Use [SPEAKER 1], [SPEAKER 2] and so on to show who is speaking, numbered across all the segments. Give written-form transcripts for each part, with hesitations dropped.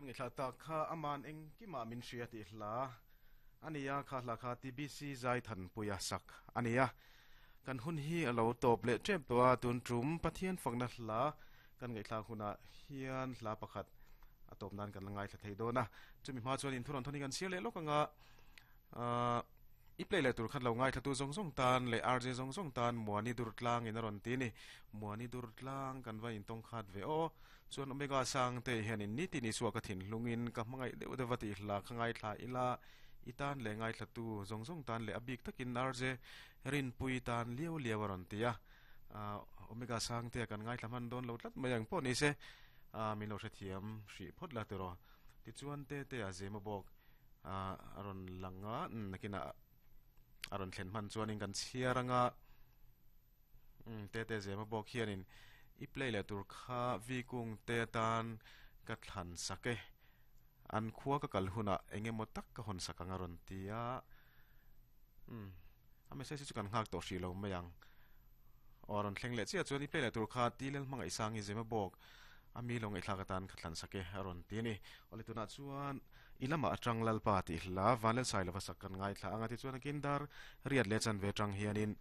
[SPEAKER 1] Kan ngaihthla tak kha aman engkimah min hria tih hla a ni a, kha hla kha TBC Zaithanpuia sak a ni a. Kan hun hi a lo tawp leh tep tawh a, tun tum Pathian fakna hla kan ngaihthlak hunah hian hla pakhat a tawp nan kan la ngaithla thei dawn a. Chumi hma chuan inthuran thawn hi kan chhiar leh lawk ang a, ahh i play leh tur khan lo ngaithla tu zawng zawng tan leh RJ zawng zawng tan Muani Durtlang in a rawn ti a ni. Muani Durtlang kan va intawng khat ve aw. Chuan Omega Sangte hianin nitin Isua ka thinhlungin ka hmangaih deuh deuh va tih hla kha ngaithla ila, i tan leh ngaithlatu zawng zawng tan leh a bik takin RJ Rinpui tan liau liau a rawn ti a. Omega Sangtea kan ngaithla hman dawn lo tlat mai ang pawh ni se, min lo hrethiam hrih phawt la tiraw. Tichuan Tetea Zema bawk a rawn lang a, nakinah a rawn thlen hman chuanin kan chhiar anga. Umm Tete Zema bawk hianin i play leh tur kha Vikung te atan ka thlan sak e, an khua ka kal hunah eng emaw tak ka hawn sak ang a rawn ti a. Umm a message hi chu kan nghak tawh hrih lo mai ang. Aw a rawn thleng leh chiah chuan i play leh tur kha Tilel Hmangaihsangi Zema bawk a mi lo ngaihthlak atan ka thlan sak e a rawn ti a ni. Awle tunah chuan i lamah atang Lalpa tih hla Vanlalsai lova sak kan ngaithla ang a tichuan a kindar riat leh chanve atang hianin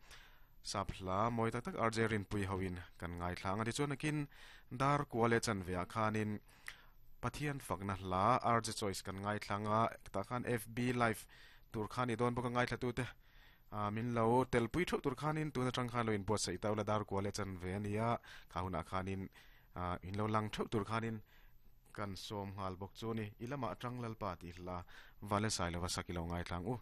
[SPEAKER 1] Sap hla mawi tak tak RJ Rinpui hoin kan ngaithla ang a tichuan nakin dar kua leh chanve ah khanin Pathian fakna hla RJ Choice kan ngaithla ang a tah khan FB live tur khan i dawn bawk a ngaithla tute ah min lo telpui theuh tur khanin tun atang khan lo inbuatsaih ta ula dar kua leh chanve a nia kha hunah khanin ah in lo lang theuh tur khanin kan sawm nghal bawk chu a ni i lamah atang Lalpa tih hla Vale Sailova sak i lo ngaithla ang u.